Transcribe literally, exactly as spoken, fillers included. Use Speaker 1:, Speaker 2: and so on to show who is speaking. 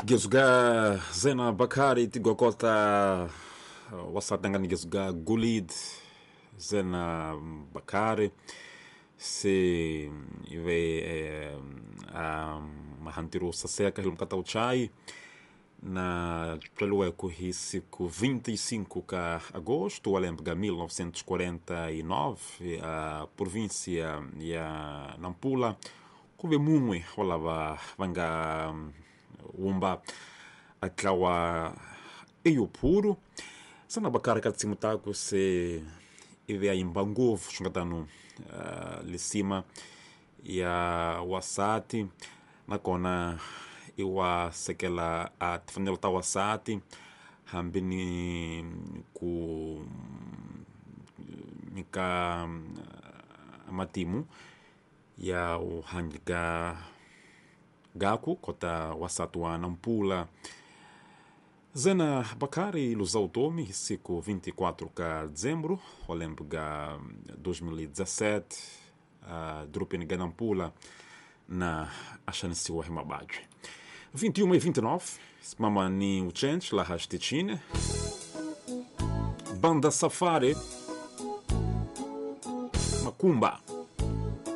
Speaker 1: Gezuga Zena Bakari tigokota wasatangani gezuga Gulid Zena Bakari se ive eh, a mahantiru saseka hilumkata uchai na twalueku hi siku vinte e cinco ka agosto alembega mil novecentos e quarenta e nove a província ya Nampula kuve mumwe walava vanga umba atlawa eyopuro Zena Bakari katsimutaku se ive aimba nguvu xungatano uh, lisima ya wasati nakona iwa sekela a tifanelo ta wasati hambi ni ku nyika matimu ya uhanjika gaku kota wasati wa Nampula. Zena Bakari ilusau tomi siku vinte e quatro ka dezembro, olembega dois mil e dezassete, a drupin ga Nampula na achansiwa himabadwe. vinte e um e vinte e nove, mama ni uchench la hastichine. Banda Safari Macumba.